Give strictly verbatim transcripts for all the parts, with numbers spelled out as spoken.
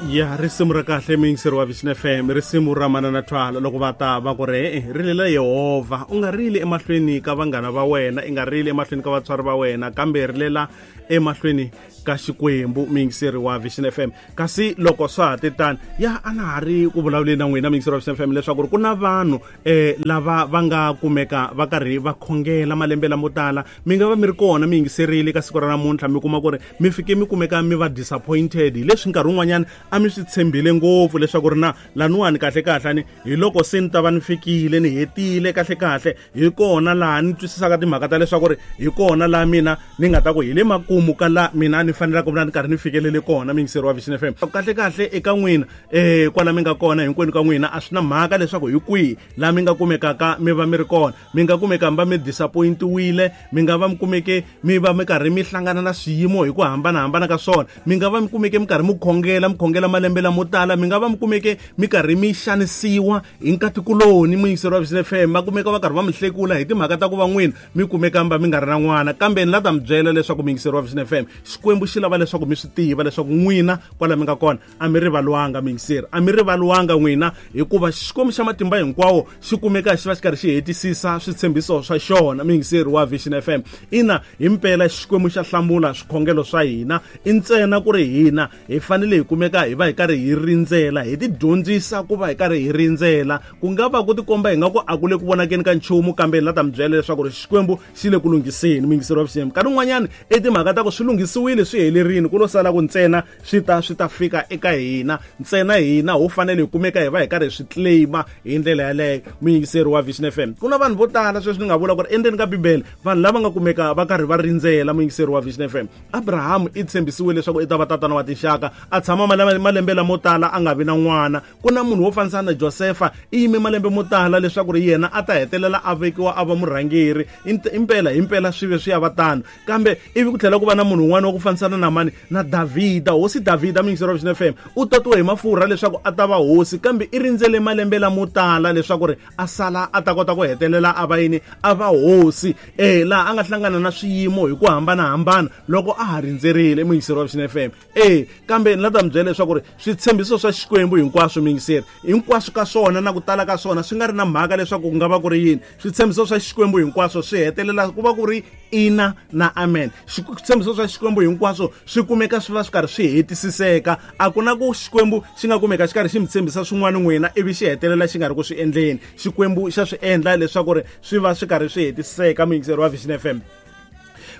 Ya risimu ra kahle muyingiseri wa Vision F M, risimu ra Manana Thwala loko va ta va ku ri e rilela Yehovha, u nga rili emahlweni ka vanghana va wena, i nga rili emahlweni ka vatswari va wena, kambe rilela emahlweni ka Xikwembu, muyingiseri wa Vision F M. Kasi loko swa ha titani ya a na ha ri ku vulavuleni na n'wina muyingiseri wa Vision F M leswaku ri ku na vanhu eh lava va nga kumeka va karhi va khongela malembe lamo tala, mi nga va mi ri kona mi yingiserile ka siku ra namuntlha, mi kuma ku ri mi fike mi kumeka mi va disappointed hi leswi nkarhi wun'wanyana a mi swi tshembile ngopfu leswaku ri na laniwani kahle kahle ni hi loko se ni ta va ni fikile ni hetile kahle kahle, hi kona laha ni twisisaka timhaka ta leswaku ri hi kona laha mina ni nga ta ku hi le makumu ka la mina ni fanelaka ku va ni karhi ni fikelele kona, muyingiseri wa Vision F M. Kahle kahle eka n'wina eh kwala mi nga kona hinkwenu ka n'wina a swi na mhaka leswaku hi kwihi laha mi nga kumekaka mi va mi ri kona, mi nga kumeka mi va mi disappointiwile, mi nga va mi kumeke mi va mi karhi mi hlangana na swiyimo hi ku hambanahambana ka swona, mi nga va mi kumeke mi karhi mi khongela mi khongela malembe lamo tala, mi nga va mi kumeke mi karhi mi xanisiwa hi nkatikuloni, muyingiseri wa Vision F M, va kumeka va karhi va mi hlekula hi timhaka ta ku va n'wina mi kumeka mi va mi nga ri na n'wana. Kambe ni la ta mi byela leswaku muyingiseri wa Vision F M, Xikwembu xi lava leswaku mi swi tiva leswaku n'wina kwala mi nga kona a mi rivalwanga, muyingiseri, a mi rivalwanga n'wina, hikuva Xikwembu xa matimba hinkwawo xi kumeka xi va xi karhi xi hetisisa switshembiso swa xona, muyingiseri wa Vision F M. Ina himpela Xikwembu xa hlamula swikhongelo swa hina, i ntsena ku ri hina hi fanele hi kumeka hi va hi karhi hi rindzela, hi ti dyondzisa ku va hi karhi hi rindzela. Ku nga va ku tikomba hi nga ku a ku le ku vonakeni ka nchumu, kambe ni la ta mi byela leswaku ri Xikwembu xi le ku lunghiseni, muyingiseri wa Vision F M. Nkarhi wun'wanyana i timhaka ta ku swi lunghisiwile swi helerile, ku lo sala ku ntsena swi ta swi ta fika eka hina ntsena, hina ho fanele hi kumeka hi va hi karhi hi swi claima hi ndlela yaleyo, muyingiseri wa Vision F M. Ku na vanhu vo tala sweswi ni nga vula ku ri endzeni ka Bibele vanhu lava nga kumeka va karhi va rindzela, muyingiseri wa Vision F M. Abraham i tshembisiwe leswaku i ta va tatana wa tinxaka, a tshama malembe lamo tala a nga vi na n'wana. Ku na munhu wo fanisana na Josefa, i yime malembe mo tala leswaku ri yena a ta hetelela a vekiwa a va murhangeri, impela himpela swi ve swi ya va tano. Kambe ivi ku tlhela ku va na munhu un'wana wa ku fanisana na mani na Davhida, hosi Davhida, muyingiseri wa Vision F M, u tatiwe hi mafurha leswaku a ta va hosi, kambe i rindzele malembe lamo tala leswaku ri a sala a ta kota ku hetelela a va yini, a va hosi, eh laha a nga hlangana na swiyimo hi ku hambanahambana loko a ha rindzerile, muyingiseri wa Vision F M. Eh kambe ni la ta mi byela leswaku ri switshembiso swa Xikwembu hinkwaswo, muyingiseri, hinkwaswo ka swona na ku tala ka swona swi nga ri na mhaka leswaku ku nga va ku ri yini, switshembiso swa Xikwembu hinkwaswo swi hetelela ku va ku ri ina na amen. Switshembiso swa Xikwembu hinkwaswo swi kumeka swi va swi karhi swi hetisiseka. A ku na ku Xikwembu xi nga kumeka xi karhi xi mi tshembisa swin'wana n'wina ivi xi hetelela xi nga ri ku swi endleni. Xikwembu xa swi endla leswaku ri swi va swi karhi swi hetisiseka, muyingiseri wa Vision F M.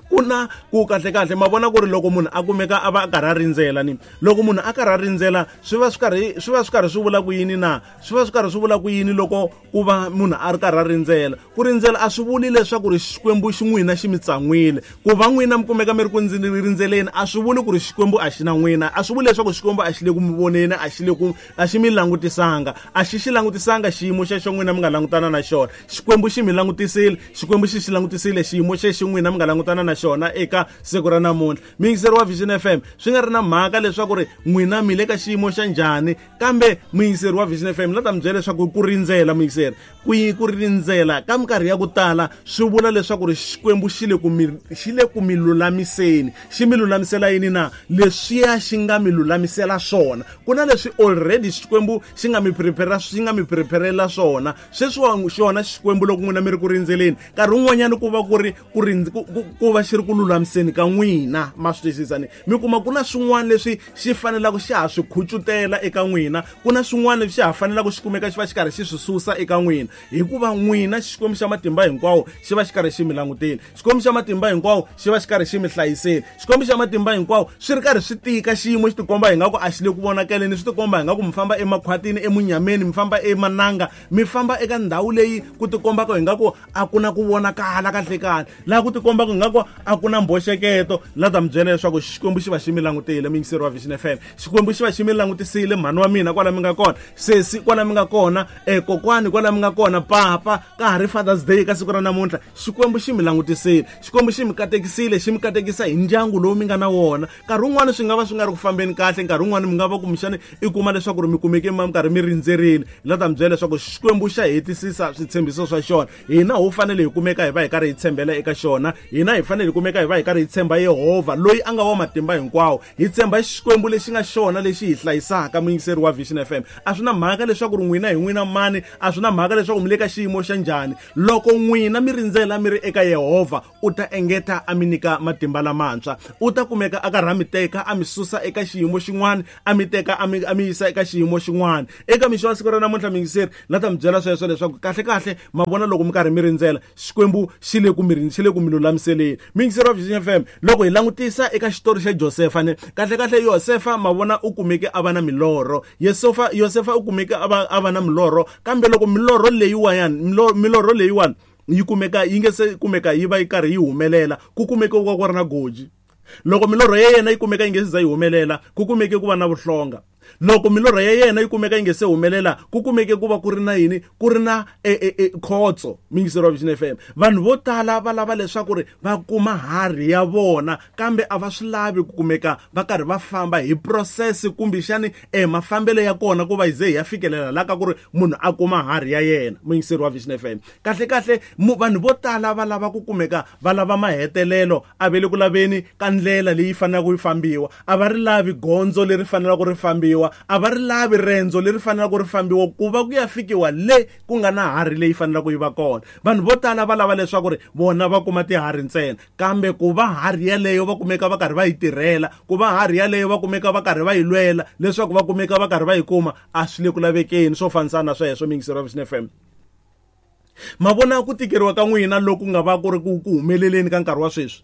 Ku na ku kahle kahle ma vona ku ri loko munhu a kumeka a va a karhi a rindzela ni loko munhu a karhi a rindzela swi va swi karhi swi va swi karhi swi vula ku yini na swi va swi karhi swi vula ku yini loko ku va munhu a ri karhi a rindzela. Ku rindzela a swi vuli leswaku ri Xikwembu xi n'wina xi mi tsan'wile, ku va n'wina mi kumeka mi ri ku rindzeleni a swi vuli ku ri Xikwembu a xi na n'wina, a swi vuli leswaku Xikwembu a xi le ku mi voneni, a xi le ku a xi mi langutisanga, a xi xi langutisanga xiyimo xexo n'wina mi nga langutana na xona. Xikwembu xi mi langutisile, Xikwembu xi xi langutisile xiyimo xexo n'wina mi nga langutana na xona eka siku ra namuntlha. Muyingiseri wa Vision F M, swi nga ri na mhaka leswaku ri n'wina mi le ka xiyimo xa njhani, kambe muyingiseri wa Vision F M la ta mi byela leswaku ku rindzela, muyingiseri, ku ku rindzela ka minkarhi ya ku tala swi vula leswaku ri Xikwembu xi le ku mi xi le ku mi lulamiseni. Xi mi lulamisela yini na? Leswiya xi nga mi lulamisela swona. Ku na leswi already Xikwembu xi nga mi prepare xi nga mi preparela swona. Sweswi xona Xikwembu loko n'wina mi ri ku rindzeleni, nkarhi wun'wanyana ku va ku ri ku ku va xi ri ku lulamiseni ka n'wina, ma swi twisisa ni? Mi kuma ku na swin'wana leswi xi fanelaka xa ha swi khucutela eka n'wina, ku na swin'wana leswi xa ha fanelaka xi kumeka xi va xi karhi xi swi susa eka n'wina, hikuva n'wina Xikwembu xa matimba hinkwawo xi va xi karhi xi mi langutile, Xikwembu xa matimba hinkwawo xi va xi karhi xi mi hlayisile, Xikwembu xa matimba hinkwawo swi ri karhi swi tika xiyimo xi tikomba hi nga ku a xi le ku vonakeleni, swi tikomba hi nga ku mi famba emakhwatini, emunyameni, mi famba emananga, mi famba eka ndhawu leyi ku tikombaka hi nga ku a ku na ku vonakala kahle kahle, laha ku tikombaka hi nga ku a ku na mboxeketo. La ta mi byela leswaku Xikwembu xi va xi mi langutile, muyingiseri wa Vision F M. Xikwembu xi va xi mi langutisile, mhani wa mina kwala mi nga kona, sesi kwala mi nga kona, eh kokwani kwala mi nga kona, papa ka ha ri Father's Day ka siku ra namuntlha, Xikwembu xi mi langutisile, Xikwembu xi mi katekisile, xi mi katekisa hi ndyangu lowu mi nga na wona. Nkarhi wun'wani swi nga va swi nga ri ku fambeni kahle, nkarhi wun'wani mi nga va kumbexani i kuma leswaku ri mi kumeke mi karhi mi rindzerile. La ta mi byela leswaku Xikwembu xa hetisisa switshembiso swa xona. Hina ho fanele hi kumeka hi va hi karhi hi tshembela eka xona, hina hi fanele fanele hi kumeka hi va hi karhi hi tshemba Yehovha loyi a nga wa matimba hinkwawo, hi tshemba Xikwembu lexi nga xona lexi hi hlayisaka. Muyingiseri wa Vision F M, a swi na mhaka leswaku ri n'wina hi n'wina mani, a swi na mhaka leswaku mi le ka xiyimo xa njhani, loko n'wina mi rindzela mi ri eka Yehovha, u ta engeta a mi nyika matimba lamantshwa, u ta kumeka a karhi a mi teka a mi susa eka xiyimo xin'wana a mi teka a mi a mi yisa eka xiyimo xin'wana. Eka mixo wa siku ra namuntlha muyingiseri, la ta mi byela sweswo leswaku kahle kahle ma vona loko mi karhi mi rindzela Xikwembu xi le ku mi xi le ku mi lulamiseleni. Muyingiseri wa Vision F M, loko hi langutisa eka xitori xa Josefa ne, kahle kahle Yosefa ma vona u kumeke a va na milorho, Yosefa Yosefa u kumeke a va a va na milorho, kambe loko milorho leyiwani milorho leyiwani yi kumeka yi nge se kumeka yi va yi karhi yi humelela, ku kumeke ku va ku ri na goji. Loko milorho ya yena yi kumeka yi nge se za yi humelela, ku kumeke ku va na vuhlonga. Loko milorho ya yena yi kumeka yi nge se humelela, ku kumeke ku va ku ri na yini, ku ri na khotso. Muyingiseri wa Vision F M, vanhu vo tala va lava leswaku ri va kuma harhi ya vona, kambe a va swi lavi ku kumeka va karhi va famba hi process kumbexani e mafambelo ya kona ku va hi ze hi ya fikelela la ka ku ri munhu a kuma harhi ya yena. Muyingiseri wa Vision F M, kahle kahle vanhu vo tala va lava ku kumeka va lava mahetelelo, a ve le ku laveni ka ndlela leyi fanelaka yi fambiwa, a va ri lavi gondzo leri fanelaka ri fambiwa, a va ri lavi rendzo leri fanelaka ri fambiwa ku va ku ya fikiwa le ku nga na harhi leyi fanelaka yi va kona. Vanhu vo tala va lava leswaku ri vona va kuma tiharhi ntsena, kambe ku va harhi yaleyo va kumeka va karhi va yi tirhela, ku va harhi yaleyo va kumeka va karhi va yi lwela leswaku va kumeka va karhi va yi kuma, a swi le ku lavekeni swo fanisana na sweswo. Muyingiseri wa Vision F M, ma vona ku tikeriwa ka n'wina loku nga va ku ri ku humeleleni ka nkarhi wa sweswi,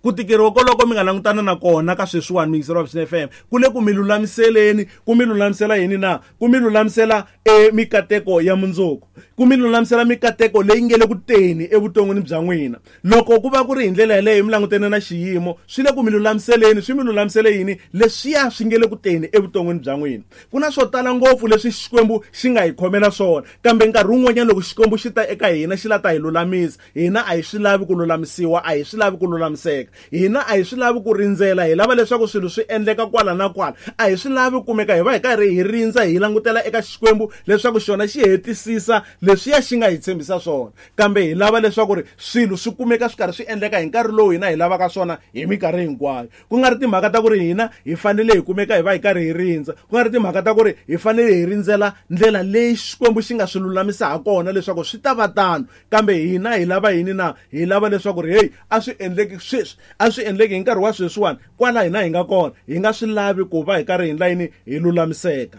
ku tikeriwa koloko mi nga langutana na kona ka sweswiwani, muyingiseri wa Vision F M, ku le ku mi lulamiseleni, ku mi lulamisela yini na, ku mi lulamisela e mikateko ya mundzuku, ku mi lulamisela mikateko leyi nge le ku teni evuton'wini bya n'wina. Loko ku va ku ri hi ndlela yaleyo mi langutene na xiyimo, swi le ku mi lulamiseleni, swi mi lulamisele yini leswiya swi nge le ku teni evuton'wini bya n'wina. Ku na swo tala ngopfu leswi Xikwembu xi nga hi khomela swona, kambe nkarhi wun'wanyana loko Xikwembu xi ta eka hina xi la ta hi lulamisa, hina a hi swi lavi ku lulamisiwa, a hi swi lavi ku lulamiseka, hina a hi swi lavi ku rindzela, hi lava leswaku swilo swi endleka kwala na kwala, a hi swi lavi ku kumeka hi va hi karhi hi rindza hi langutela eka Xikwembu leswaku xona xi hetisisa leswiya xi nga hi tshembisa swona, kambe hi lava leswaku ri swilo swi kumeka swi karhi swi endleka hi nkarhi lowu hina hi lavaka swona hi minkarhi hinkwayo. Ku nga ri timhaka ta ku ri hina hi fanele hi kumeka hi va hi karhi hi rindza, ku nga ri timhaka ta ku ri hi fanele hi rindzela ndlela leyi Xikwembu xi nga swi lulamisa ha kona leswaku swi ta va tano, kambe hina hi lava yini na, hi lava leswaku ri hey, a swi endleki sweswi, a swi endleki hi nkarhi wa sweswiwani kwala hina hi nga kona, hi nga swi lavi ku va hi karhi hi ndla yini, hi lulamiseka.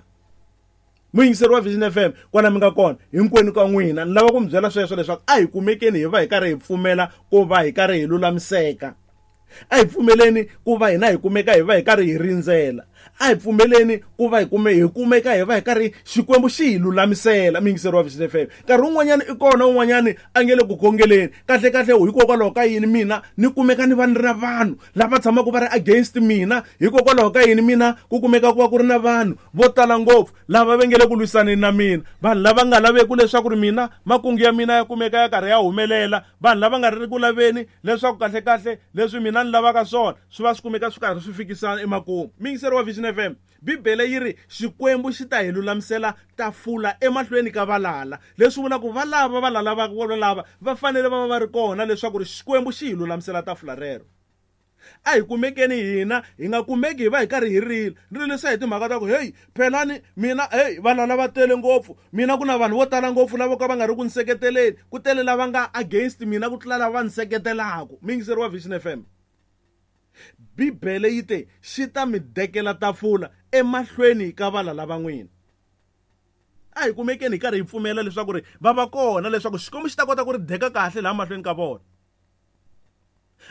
Muyingiseri wa Vision F M, kwala mi nga kona hinkwenu ka n'wina, ni lava ku mi byela sweswo leswaku a hi kumekeni hi va hi karhi hi pfumela ku va hi karhi hi lulamiseka, a hi pfumeleni ku va hina hi kumeka hi va hi karhi hi rindzela, a hi pfumeleni ku va hi kume hi kumeka hi va hi karhi Xikwembu xi hi lulamisela. Muyingiseri wa Vision F M, nkarhi wun'wanyana i kona un'wanyani a nge le ku khongeleni, kahle kahle hikokwalaho ka yini mina ni kumeka ni va ni ri na vanhu lava tshamaka va ri against mina, hikokwalaho ka yini mina ku kumeka ku va ku ri na vanhu vo tala ngopfu lava va nge le ku lwisaneni na mina, vanhu lava nga laveki leswaku ri mina makungu ya mina ya kumeka ya karhi ya humelela, vanhu lava nga ri ku laveni leswaku kahle kahle leswi mina ni lavaka swona swi va swi kumeka swi karhi swi fikisana emakumu. Muyingiseri wa Vision F M, Bibele yi ri Xikwembu xi ta hi lulamisela tafula emahlweni ka valala, leswi vulaka ku valava valala va lava va fanele va va va ri kona leswaku ri Xikwembu xi hi lulamisela tafula rero. A hi kumekeni hina, hi nga kumeki hi va hi karhi hi rila, rilisa hi timhaka ta ku hey, phelani mina hey, valala va tele ngopfu mina, ku na vanhu vo tala ngopfu lava ka va nga ri ku ni seketeleni, ku tele lava nga against mina ku tlula lava va ni seketelaka. Muyingiseri wa Vision F M, Bibele yi te xi ta mi dekela tafula emahlweni ka valala va n'wina. A hi kumekeni hi karhi hi pfumela leswaku ri va va kona leswaku Xikwembu xi ta kota ku ri deka kahle laha mahlweni ka vona.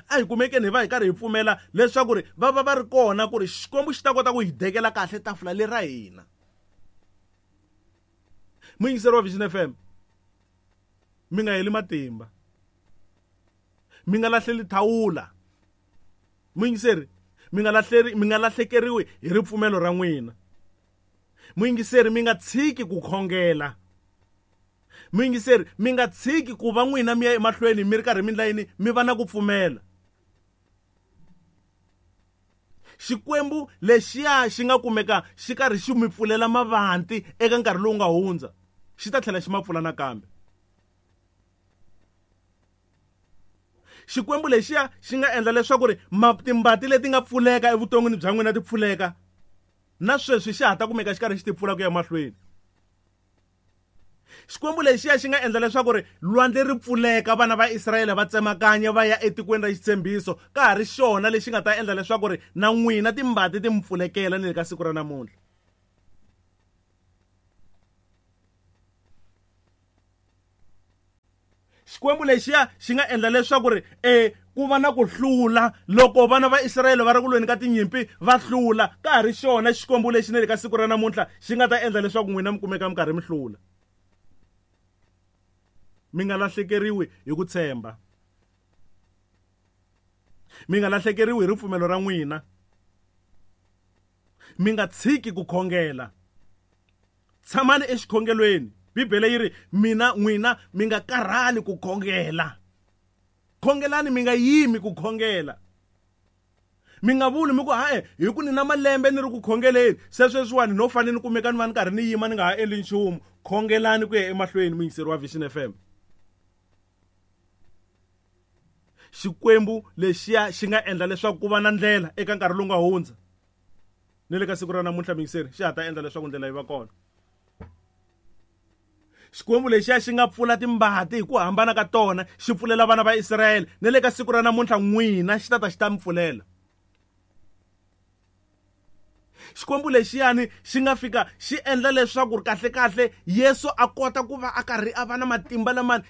A hi kumekeni hi va hi karhi hi pfumela leswaku ri va va va ri kona ku ri Xikwembu xi ta kota ku hi dekela kahle tafula leri ra hina. Muyingiseri wa Vision F M, mi nga heli matimba, mi nga lahleli thawula. Muyingiseri, mi nga lahleri, mi nga lahlekeriwi hi ripfumelo ra n'wina. Muyingiseri, mi nga tshiki ku khongela. Muyingiseri, mi nga tshiki ku va n'wina mi ya emahlweni mi ri karhi mi ndla yini, mi va na ku pfumela. Xikwembu lexiya xi nga kumeka xi karhi xi mi pfulela mavanti eka nkarhi lowu nga hundza, xi ta tlhela xi ma pfula nakambe. Xikwembu lexiya xi nga endla leswaku ri timbati leti nga pfuleka evuton'wini bya n'wina ti pfuleka, na sweswi xa ha ta kumeka xi karhi xi ti pfula ku ya mahlweni. Xikwembu lexiya xi nga endla leswaku ri lwandle ri pfuleka, vana va Israyele va tsemakanya va ya etikweni ra xitshembiso, ka ha ri xona lexi nga ta endla leswaku ri na n'wina timbati ti mi pfulekela ni le ka siku ra namuntlha. Xikwembu lexiya xi nga endla leswaku ri e ku va na ku hlula loko vana va Israyele va ri ku lweni ka tinyimpi va hlula, ka ha ri xona Xikwembu lexi ni le ka siku ra namuntlha xi nga ta endla leswaku n'wina mi kumeka mi karhi mi hlula. Mi nga lahlekeriwi hi ku tshemba, mi nga lahlekeriwi hi ripfumelo ra n'wina, mi nga tshiki ku khongela, tshamani exikhongelweni. Bibele yi ri mina n'wina mi nga karhali ku khongela, khongelani mi nga yimi ku khongela. Mi nga vuli mi ku hae hi ku ni na malembe ni ri ku khongeleni, se sweswiwani no fanele ni kumeka ni va ni karhi ni yima ni nga ha endli nchumu. Khongelani ku ya emahlweni, muyingiseri wa Vision F M. Xikwembu lexiya xi nga endla leswaku ku va na ndlela eka nkarhi lowu nga hundza ni le ka siku ra namuntlha, muyingiseri, xi ha ta endla leswaku ndlela yi va kona. Xikwembu lexiya xi nga pfula timbati hi ku hambana ka tona, xi pfulela vana va Israyele, ni le ka siku ra namuntlha n'wina xi ta ta xi ta mi pfulela. Xikwembu lexiyani xi nga fika xi endla leswaku kahle kahle Yesu a kota ku va a karhi a va na matimba lama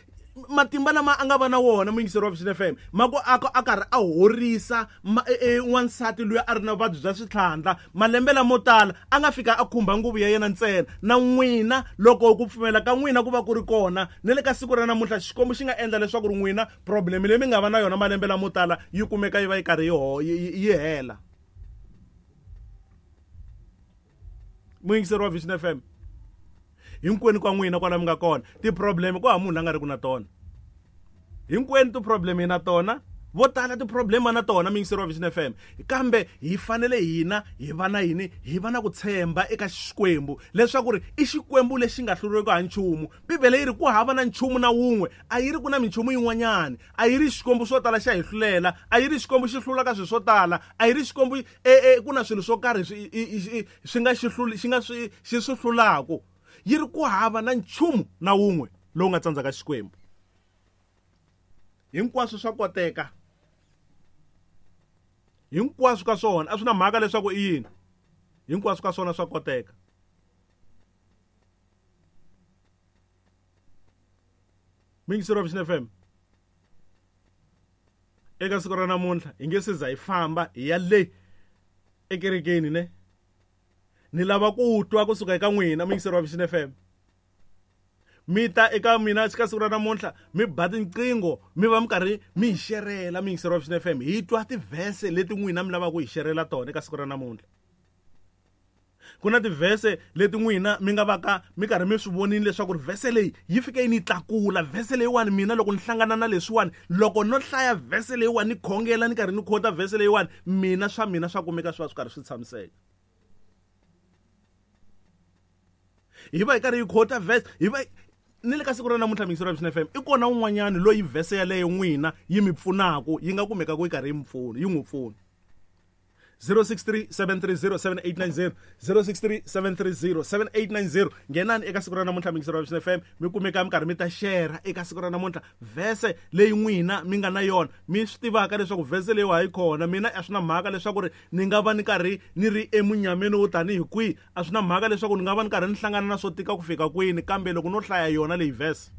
matimba lama a nga va na wona, muyingiseri wa Vision F M, ma ku a a karhi a horisa wansati loyi a ri na vuvabyi bya switlhandla malembe lamo tala, a nga fika a khumba nguvu ya yena ntsena. Na n'wina loko ku pfumela ka n'wina ku va ku ri kona ni le ka siku ra namuntlha, Xikwembu xi nga endla leswaku ri n'wina problem leyi mi nga va na yona malembe lamo tala yi kumeka yi va yi karhi yi yi hela. Muyingiseri wa Vision F M, hinkwenu ka n'wina kwala mi nga kona ti-problem ku hava munhu la nga ri ku na tona, hinkwenu ti-problem hi na tona, vo tala ti-problem na tona, muyingiseri wa Vision F M. Kambe hi fanele hina hi va na yini? Hi va na ku tshemba eka Xikwembu leswaku ri i Xikwembu lexi nga hluriweki ha nchumu. Bibele yi ri ku hava na nchumu na wun'we, a yi ri ku na minchumu yin'wanyana, a yi ri Xikwembu swo tala xa hi hlulela, a yi ri Xikwembu xi hlulaka swilo swo tala, a yi ri Xikwembu e e ku na swilo swo karhi swi swi nga xi hluli xi nga swi xi swi hlulaka. Yi ri ku hava na nchumu na wun'we lowu nga tsandzaka Xikwembu. Hinkwaswo swa koteka, hinkwaswo ka swona, a swi na mhaka leswaku i yini, hinkwaswo ka swona swa koteka. Muyingiseri wa Vision F M, eka siku ra namuntlha hi nge se za hi famba hi ya le ekerekeni ne, ni lava ku twa kusuka eka n'wina muyingiseri wa Vision F M. Mi ta eka mina ka siku ra namuntlha mi ba tinqingho mi va mi karhi mi hi xerela, muyingiseri wa Vision F M, hi twa tivhese leti n'wina mi lavaka ku hi xerela tona eka siku ra namuntlha. Ku na tivhese leti n'wina mi nga vaka mi karhi mi swi vonile leswaku ri vhese leyi yi fike yi ni tlakula, vhese leyiwani mina loko ni hlangana na leswiwani, loko no hlaya vhese leyiwani ni khongela ni karhi ni khota vhese leyiwani, mina swa mina swa kumeka swi va swi karhi swi tshamiseka. Hi va hi karhi hi khota vhese, hi va ni le ka siku ra namuntlha muyingiseri wa Vision F M, i kona un'wanyani loyi vhese yaleyo n'wina yi mi pfunaka, yi nga kumeka ku yi karhi yi mi pfuna, yi n'wi pfuna. zero six three seven three zero seven eight nine zero, zero six three seven three zero seven eight nine zero. Nghenani eka siku ra namuntlha muyingiseri wa Vision F M, mi kumeka mi karhi mi ta share eka siku ra namuntlha vhese leyi n'wina mi nga na yona, mi swi tivaka leswaku vhese leyi wa yi kona. Mina a swi na mhaka leswaku ri ni nga va ni karhi ni ri emunyameni wo tanihi kwihi, a swi na mhaka leswaku ni nga va ni karhi ni hlangana na swo tika ku fika kwini, kambe loko no hlaya yona leyi vhese,